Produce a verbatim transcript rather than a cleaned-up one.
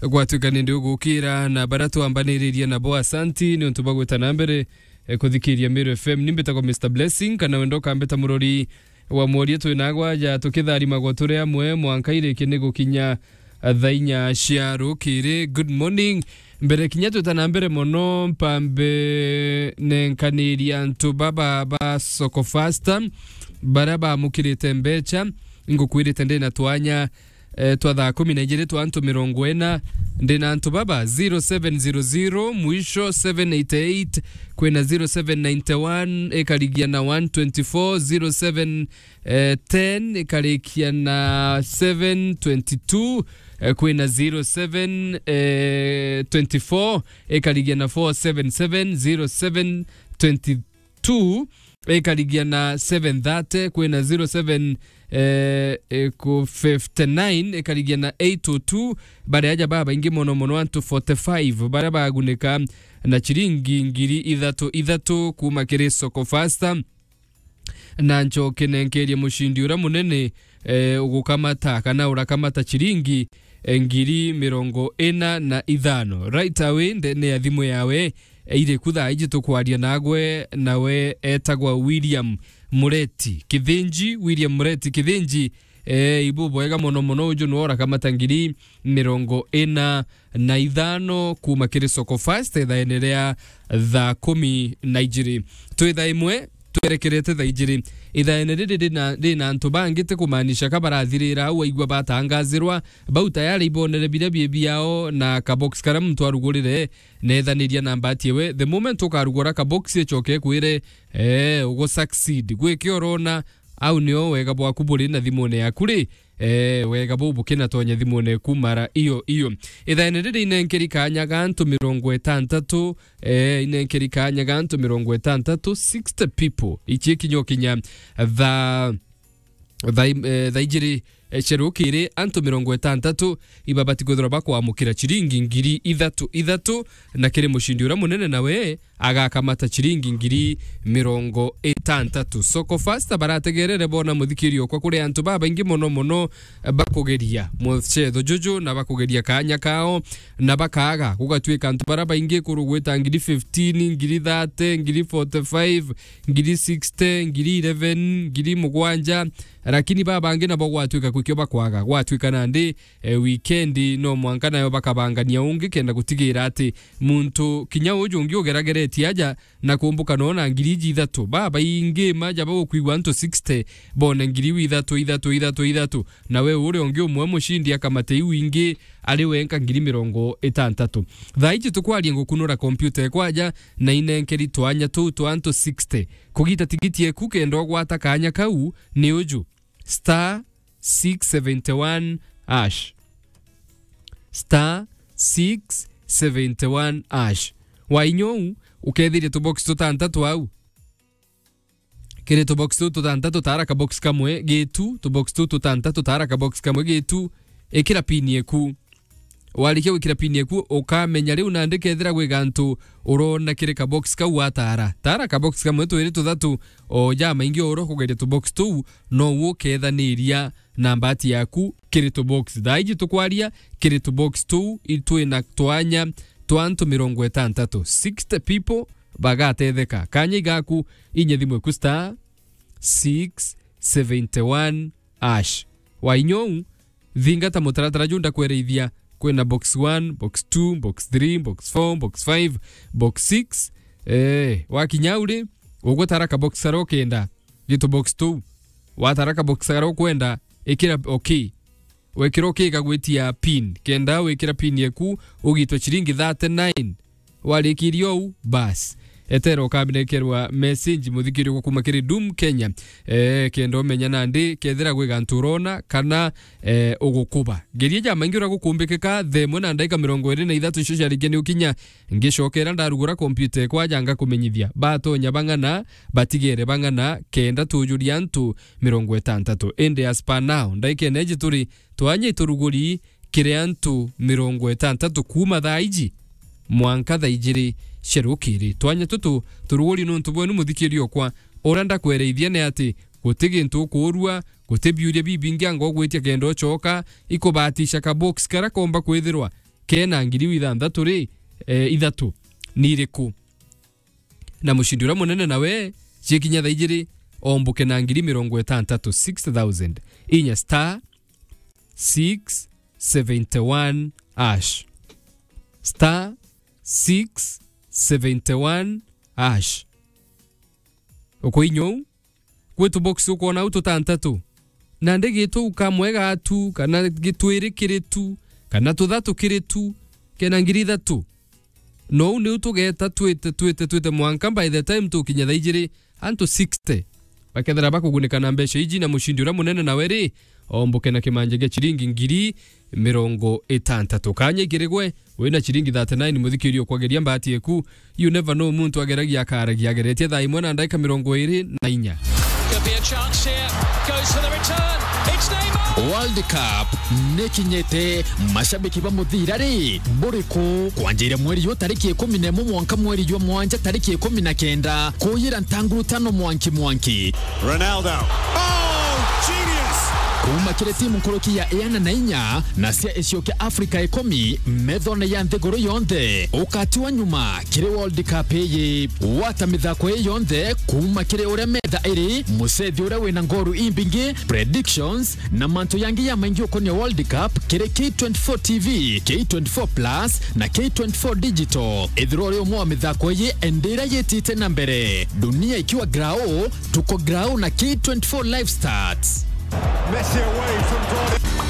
Gwatuika ni ndi ugukira na baria twambaniririe nabo, asanti ni untu bwa gwita na mbere, eh, kuthikiria Meru F M. Ni mbitagwa Mister Blessing, kana wenda ukambita murori wa mworia. Twinagwa aja tukitharimagwa turi amwe mwanka irikie ni gukinya, eh, thaa inya cia rukiri. Good morning. Mbere kinya twita na mbere mono, mpambe nenkaniria antu baba ba Soko Fasta, baria bamukirite mbecha. Ngukwirite ndi na twanya, eh, twa thaa kumi na ijiri twa antu mirongo ina. Ndi na antu baba, zero seven zero zero, mwisho seven eight eight, kwina zero seven nine one, ikarigia na one twenty four, zero seven, eh, ten, ikarikia na seven twenty two, eh, kwina zero seven, eh, twenty four, ikarigia na four seven seven, zero seven twenty two, ikarigia na seven thirty, kwina zero seven, eh, eh, ku fifty nine, ikarigia na eight oh two. Baria aja babaingi mono mono, antu forty five baria bagunika na chiringi ngiri ithatu ithatu kuma kiri Soko Fasta. Na ncoke nenkerie mucindi uria munene, eh, ugukamata kana urakamata chiringi, eh, ngiri mirongo ina na ithano. Right away, ndene ya thimu yawe, eh, iri ku thaa iji tukwaria nagwe, nawe etagwa William Mureti Kithinji. William Mureti Kithinji, eh, ibu bwega mono mono, uju nwe urakamata ngiri mirongo ina na ithano kuma kiri Soko Fast, ithaene ria thaa kumi na ijiri. Twi thaa imwe, twerekerete thaa ijiri. Ithaene riri rina, rina antu bangi, ti kumaanisha ka barathirira au, waigua batangazirwa, bau tayari ibonere biria bie biao na kabox karia muntu arugurire, nethaniria na mbati ewe. The moment ukarugura kabox, icoke ikwire, eh, ugu succeed. Gwiki urona, au nio wega bwaku buri na thimune yaku ri, eh, wega buu bukinatonya thimune eku mara iyo iyo. Ithaene riri inenkeri kanya ga antu mirongo itantatu, eh, inenkeri kanya ga antu mirongo itantatu, sixty people. Ichi ikinya ukinya thaa, thaa, eh, thaa ijiri, eh, cia rukiri, antu mirongo itantatu ibabati kwithirwa bakwamukira chiringi ngiri ithatu ithatu, na kiri mucindi uria munene nawe agakamata chiringi ngiri mirongo itantatu. Soko Fasta barategerere bona muthikiri okwa kuri antu babaingi mono mono bakugeria mucetho juju na bakugeria kanya kao na bakaga. Gugatuika antu bara baingi kuru gwita ngiri fifteen, ngiri thirty, ngiri forty five, ngiri sixty, ngiri eleven, ngiri mugwanja, lakini babangi nabo gwatuika kwikio bakwaga. Gwatuika nandi, eh, weekend no mwanka nayo bakabangania ungi kenda gutigira ati muntu kinya uju ungi ugerageretie aja na kumbuka nona ngiri iji ithatu. Babaingi maja bagukwigua antu sixty bone ngiri iu ithatu, ithatu, ithatu, ithatu. Na we uria ungi umwe mucindi akamate iu ingi ari wenka ngiri mirongo itantatu. Thaa iji tukwaria ngukunura kompyuta ekwaja na inenkeri twanya tuu twa antu sixty. Kugita tigiti eku kenda ugwata kanya kau ni uju. Star six seventy one hash. Star six seventy one hash. Wainya uu, ukethiria tubox tutantatu au. Kiri tubox tuu tutantatu, tara kabox kamwe gitu, tubox tuu tutantatu, tara kabox kamwe gitu, ikira pin eku. Warikia gwikira pin eku, ukamenya riu nandi kethira gwi gantu urona kiri kabox kau watara. Tara kabox kamwe, twiri, tuthatu, o jamaingi o uria ukugeria tubox tuu, no uo ukethaniria na mbati yaku kiri tubox. Thaa iji tukwaria, kiri tubox tuu, itwi na twanya twa antu mirongo itantatu. Sixty people bagatetheka. Kanya igaku, inya thimu eku star six seventy one hash. Wainya uu, thingata mutaratara juu ndakwereithia. Kwina box one, box two, box three, box four, box five, box six. Eh, wakinya au ri, ugutara kabox karia ukenda. Gitu box tuu. Watara kabox karia ukwenda, ikira okay. Wekira okay kagwitia pin. Kenda wikira pin yeku, ugitwe chiringi thirty nine. Warikiria uu, bas. Etera ukamenekerwa message muthikiri gwa kuma kiri Doom Kenya. Eh, kenda umenya nandi, kethira gwi gantu urona, kana, eh, ugukuba. Geria jamaingi uria gukumbikika, thaa imwe na ndaika mirongo iri na ithatu icio ciarikia ni ukinya, ngicokera ndarugura kompyuta ekwaja ngakumenyithia. Batonya bang'ana, batigere bang'ana, kenda tujuria antu mirongo itantatu. Indi as per now, ndaikene iji turi twanya ituruguri kiri antu mirongo itantatu kuma thaa iji mwanka thaa ijiri cia rukiri. Twanya tutu turuguri nuntu bwenu muthikiri okwa. Uria ndakwereithia ni ati guti gintu ukuurua, guti biuria bibingi anga ugwitia kenda ucoka, ikubatisha kabox karia komba kwithirwa kena ngiri ithanthatu ri, eh, ithatu, ni iriku? Na mucindi uria munene nawe, cikinya thaa ijiri, ombuke na ngiri mirongo itantatu, six thousand, inya star six seventy one hash. Star six seventy one hash. Ukoinya uu, kwi tubox ukwona au tutantatu. Nandi gitu kamwe gatu, kana gitwiri kiri tu, kana tuthatu kiri tu, kena ngiri ithatu. Nou niu tugeta twite, twite, twite mwanka by the time tukinya thaa ijiri, antu sixty bakethira bakugunika na mbeca iji, na mucindi uria munene nawe ri, ombuke na kimanja gia ciringi ngiri mirongo itantatu. Kanya ikirigwe, wina ciringi thirty nine, muthikiri ukwageria mbati eku. You never know, muntu ageragia akaragia, ageretie thaa imwe na ndagika mirongo iri na inya. Could be a chance here. Goes for the return. It's Neymar. World Cup nikinyite, mashabiki ba muthira ri, buriku? Kwanjire mweri yu tariki ikumi na imwe mwanka mweri jwa mwanja tariki ikumi na kenda, kuyira ntanguru tano mwanki mwanki. Ronaldo. Oh, genius! Kuuma kiri timu nkuruki ya iana na inya na cia icio kia Afrika ikumi methone ya nthiguru yonthe, ukatiwa nyuma kiri World Cup iyi. Gwata mithako ii yonthe kuuma kiri uria metha iri, mucethi uria wina ngoru imbingi, predictions, na mantu yangi ya maingi ukonia World Cup kiri K twenty-four T V, K twenty-four Plus, na K twenty-four Digital. Ithirwa uri umwe wa mithako iyi, indi iria yitite na mbere. Dunia ikiwa grau, tuko grau na K twenty-four Live Stats. Messi away from goal.